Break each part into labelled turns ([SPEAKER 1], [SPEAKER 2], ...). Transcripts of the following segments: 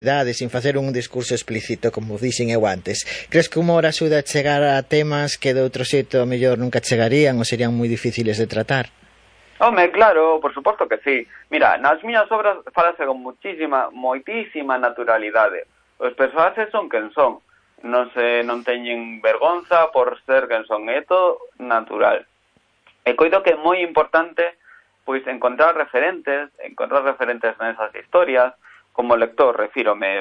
[SPEAKER 1] sin facer un discurso explícito, como dixen eu antes. Crees que o humor axuda a chegar a temas que de outro xeito a mellor nunca chegarían ou serían moi difíciles de tratar?
[SPEAKER 2] Home, claro, por suposto que sí. Mira, nas miñas obras falase con moitísima naturalidade. Os personaxes son quen son. Non teñen vergonza por ser quen son. É todo natural. E coido que é moi importante pois encontrar referentes nesas historias. Como lector, refírome,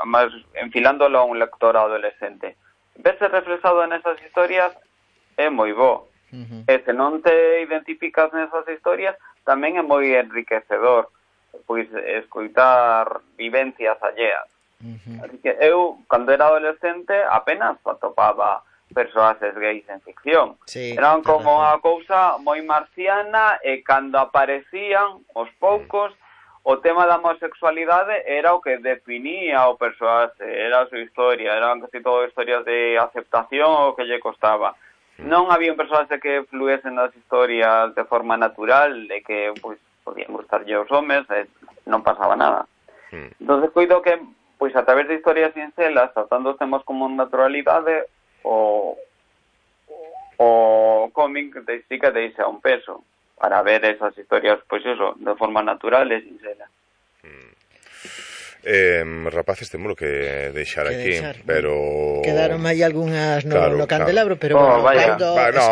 [SPEAKER 2] máis enfilándolo a un lector adolescente. Verse reflexado nesas historias é moi bo. E se non te identificas nesas historias, tamén é moi enriquecedor, pois escoitar vivencias alleas. Así que eu, cando era adolescente, apenas atopaba persoaxes gays en ficción.
[SPEAKER 1] Sí,
[SPEAKER 2] eran como a cousa moi marciana, e cando aparecían os poucos, o tema da homosexualidade era o que definía o persoaxe, era a súa historia, eran casi todo historias de aceptación o que lle costaba. Non había un persoaxe que fluese nas historias de forma natural, de que pois podían gustarlle os homes, non pasaba nada. Entonces coido que pois a través de historias sincelas, tratando os temas como naturalidade, o cómic sí que deixa un peso para ver esas historias, pois eso, de forma natural e sincera.
[SPEAKER 3] Rapaces, temos que deixar aquí, pero
[SPEAKER 1] quedaron aí algunhas no candelabro, pero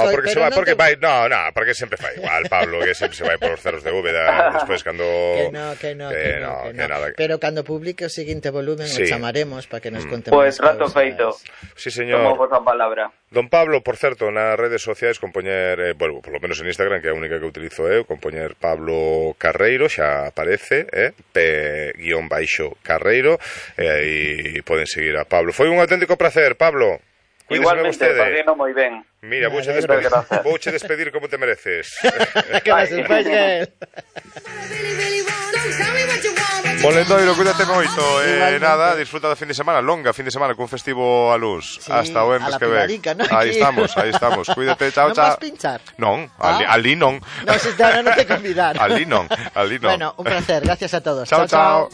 [SPEAKER 3] porque sempre fai igual, Pablo, que sempre se vai por os cerros de Úbeda despois cando
[SPEAKER 1] que no. Pero cando publique o seguinte volumen o chamaremos para que nos conte
[SPEAKER 2] Pois trato feito.
[SPEAKER 3] Sí, señor.
[SPEAKER 2] Tomo vosa palabra.
[SPEAKER 3] Don Pablo, por certo, nas redes sociais compoñer, bueno, por lo menos en Instagram, que é a única que utilizo eu, compoñer Pablo Carreiro, xa aparece, P_Carreiro, e aí poden seguir a Pablo. Foi un auténtico placer, Pablo.
[SPEAKER 2] Igualmente, pasino moi ben.
[SPEAKER 3] Mira, vouche despedir como te mereces.
[SPEAKER 1] Que vas despois que
[SPEAKER 3] Molendoiro, cuídate moito. Nada, disfruta do fin de semana, longa fin de semana, cun festivo a luz.
[SPEAKER 1] Sí,
[SPEAKER 3] hasta o Empes que ven.
[SPEAKER 1] ¿no?
[SPEAKER 3] Aí estamos. Cuídate, chao, chao.
[SPEAKER 1] Non vas pinchar?
[SPEAKER 3] Non, ali non.
[SPEAKER 1] Non te convidar.
[SPEAKER 3] Ali non.
[SPEAKER 1] Bueno, un placer, gracias a todos.
[SPEAKER 3] Chao.